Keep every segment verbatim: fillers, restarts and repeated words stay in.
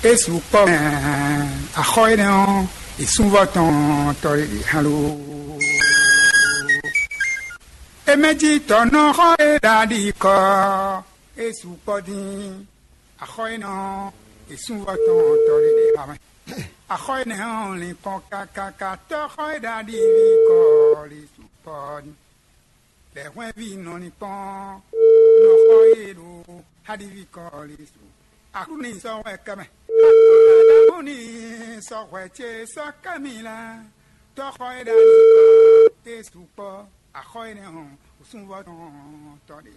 É sukpɔ́ mɛ, axɔ́ énɛ́ ɔ́, è súnvɔ́ tɔn tɔ́ ɖé ɖě hán ló. É mɛ jí tɔ̌ nɔ xɔ é ɖaɖi kɔ, é sukpɔ́ dín. Axɔ́ énɛ́ ɔ́, è súnvɔ́ tɔn tɔ́ ɖé ɖě hán mɛ. Axɔ́ énɛ́ ɔ́, lin kpɔn kákáká tɔ́ xɔ é ɖaɖi ví kɔ lé sukpɔ́ dín. Lɛ̌ hwɛ́nví nɔ ní kpɔ́n nɔ xɔ e ɖo Hadiví kɔlísu. Aklúnɔ sɔ́ hwɛ kɛmɛ. Aklúnɔ ní sɔ́ hwɛ ce sɔ́ kɛmí lɛ́ɛ. Tɔ́xɔ e ɖo ali kɔ e sukpɔ́. Axɔ énɛ́ hɔn, wǔsúnvɔ tɔn tɔ́ ɖe.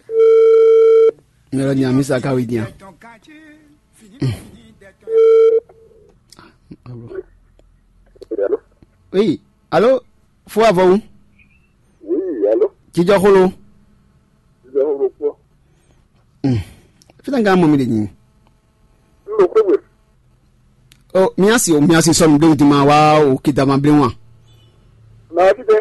Mɛlɔ ni amisa ka wi dian. Tɔn gán ce fini fini dɛ tɔn. Oui, alo, fo avɔwu. Oui, alo. Jijɔ xolo. Jijɔ xolo kpɔ. Hmm. Fita nga mɔ mi de nyi. Lo kpegbe. O miasi o miasi sɔ mi de ma wa o kidama ble wa. Na ti de.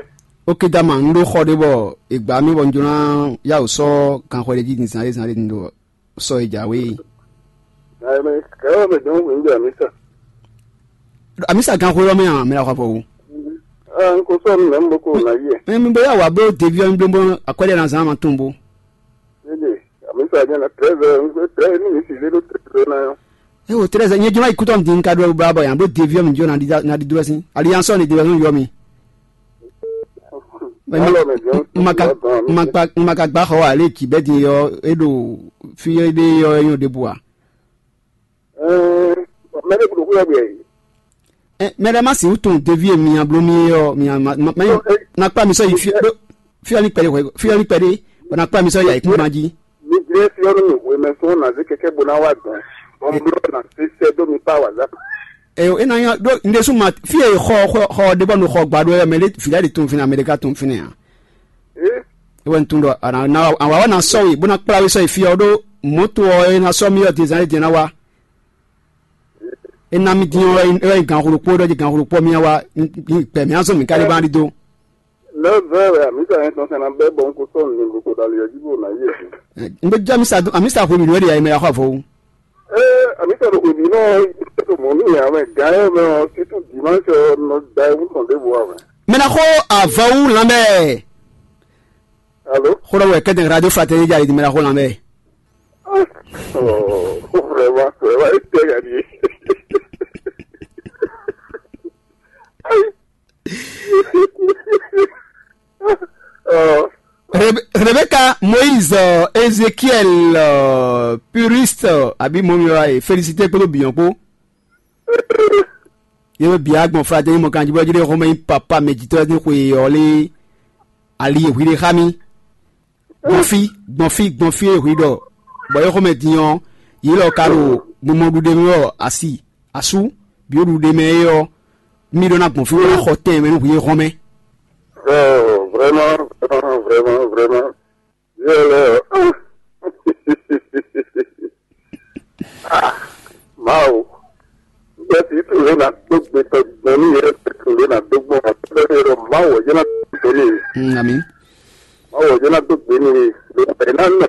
O kidama n ɖo xɔ ɖe bɔ ìgbà mi bɔ n jona ya o sɔ kan xɔ ɖe jí zan zan ɖe n ɖo sɔ e jǎwe. Ayi mɛ kɛwɛ mɛ dɔn wɛ n jɛ amisa. Amisa gan xwe lɔ mɛ a mɛ la xɔ fɔ wo. Ah, n ko sɔ nu mɛ n bo ko na yi. Mɛ mi bo ya wa bo devi ɔ mi bo bo akwɛde na zan ma tun bo. Ede, amisa jɛ na treize heures, n ko treize ni mi si le do treize heures na yɔ. E o treize nye jɔ ma ikutɔ din ka do ba bɔ yan bo devi ɔ mi jɔ na di na di dro sin. Ali yan sɔ ni devi ɔ yɔ mi. Maka maka maka gba xɔ ale ki bɛ din yɔ e ɖo fi e ɖe yɔ e nyɔ ɖebu a. Ɛɛ, mɛ ɖé kuɖo xwé ɔ́ bɛ. Ɛ, mɛ ɖé ma si wútu devi e mi nyabló mi é ɔ́, mi nya ma ma ma na kpá mi sɔ́ yi fí ɖó fí ɔ́ ní kpɛɖé hwɛ fí ɔ́ ní kpɛɖé bɔ na kpá mi sɔ́ yi ayǐkúngban jí. Mi jlɛ́ fí ɔ́ nú mi hwemɛ sɔn ná zé kɛkɛ bó ná wá dɔn. Bɔ n bló ná sésɛ dó mi kpá wǎ zá. Ɛ, é ná nyɔ ɖó un ɖésú ma fí e xɔ xɔ xɔ ɖé bɔ nu xɔ gba ɖó ɛ mɛ ɖé vǐ lɛ́ɛ ɖi tunfin Amɛɖika tunfin a. Ɛ, é wɛ un tunwun ɖɔ a nǎ ná a wǎ wá ná sɔ́ we bó ná kplá we sɔ́ yi fí ɔ́ ɖó mɔ̌to ɔ́ é ná sɔ́ mì ɔ́ din zán é din ná wá. É ná mì dín ɔ́ é wɛ nyí ganxolokpó ɖɔ jí ganxolokpó mì wá gbɛ mì azɔn mì ka ɖé bá ɖi dó. Neuf heures wɛ amisa yẹn tɔn sɛn na bɛ bɔ n ko sɔn nin ko ko dali yɛ jibo na yɛ. N bɛ jɛ amisa dun amisa hwe mi nɔ de ayi mɛ ya xɔ avɔ. Ee, amisa ɖo hwe mi nɔ to mɔ mi ya mɛ gan yɛ mɛ ɔ situ dimanche ɔ nɔ da ewu tɔn de bo wa mɛ. Mɛ na xɔ avɔ wu lan bɛ. Alo. Xɔ dɔ wɛ kɛtɛ radio fraternité ja yi di mɛ na xɔ lan bɛ. Oh, vraiment, vraiment, e tɛ ya di. Rebeka, Moyiz, Ezekiɛl, Purist, abi mɔ mi wa ye felisite kpódó biyɔn kpó. Ye bɛ bia gbɔn fratɛni mɔ kanji bɔ jide xɔmɛ nyi papa mɛ jitɔ ni xwe yɔ le ali ye hwi de xa mi. Gbɔn fí, gbɔn fí, gbɔn fí e hwi ɖɔ bɔ é xɔmɛ din ɔ́, yě lɔ ka ɖo mumɔ ɖuɖe mɛ ɔ́ asi asú, bǐ ɖuɖe mɛ é ɔ́, mì ɖó ná gbɔn fí bó ná xɔ tɛn mɛ nú hwi e hɔn mɛ. Oh, vraiment, vraiment, vraiment, vraiment. Yɛ lɛ, ah. Ah, Mawu. Bɛsi tun lé na dó gbe tɔ gbɔn ní yɛ tun lé na dó gbɔn. Bɛsi ɖɔ Mawu ɔ́ jẹ́ ná dó gbe ní. Mm, ami. Mawu ɔ́ jẹ́ ná dó gbe ní. Ló bɛ ná nɔ.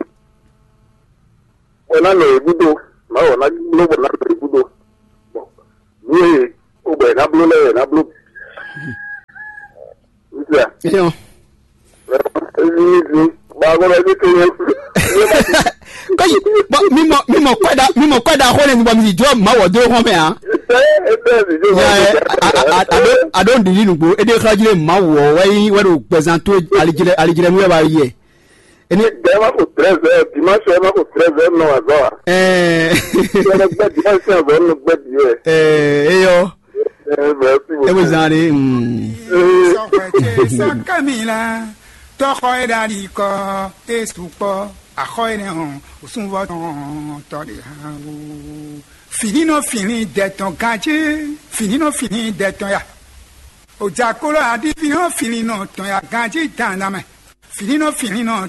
Bɔ ná nɔ yě gúdo. Mawu ɔ́ ná bló bɔ ná nɔ yě gúdo. Bɔ nú e ó bɔ yě ná bló lɛ́ɛ yě ná bló. Ntia. Eyɔ. Eyi ni di. Ba ko bɛ ti ke ye. Kɔyi, bɔn mi mɔ mi mɔ kɔda mi mɔ kɔda xɔ ne bɔ mi di jɔ ma wɔ do xɔ mɛ a. Ete ete di jo. Ya ɛ a a a a do a do ndidi nugbo ede xɔ jire ma wɔ wɛ yi wɛ do gbɛzan to alijire alijire mu yɛ ba yɛ. Eni. Ɛ ma ko treize heures dimanche ɛ ma ko treize heures nɔ azɔ a. Ɛɛ. Ɛ gbɛ dimanche azɔ nɔ gbɛ di yɛ. Ɛɛ eyɔ. Ɛ merci beaucoup. Ebe zan de. Mm. Sɔxɔtse sɔkɛmi la, tɔxɔ e ɖali kɔ, e sukpɔ, axɔ e nɛ hɔn, osunvɔ tɔn tɔ de hã o. Fini nɔ fini dɛ tɔn ganji, fini nɔ fini dɛ tɔn ya. Ojakolo adi fini nɔ fini nɔ tɔn ya ganji dandan mɛ. Fini nɔ fini nɔ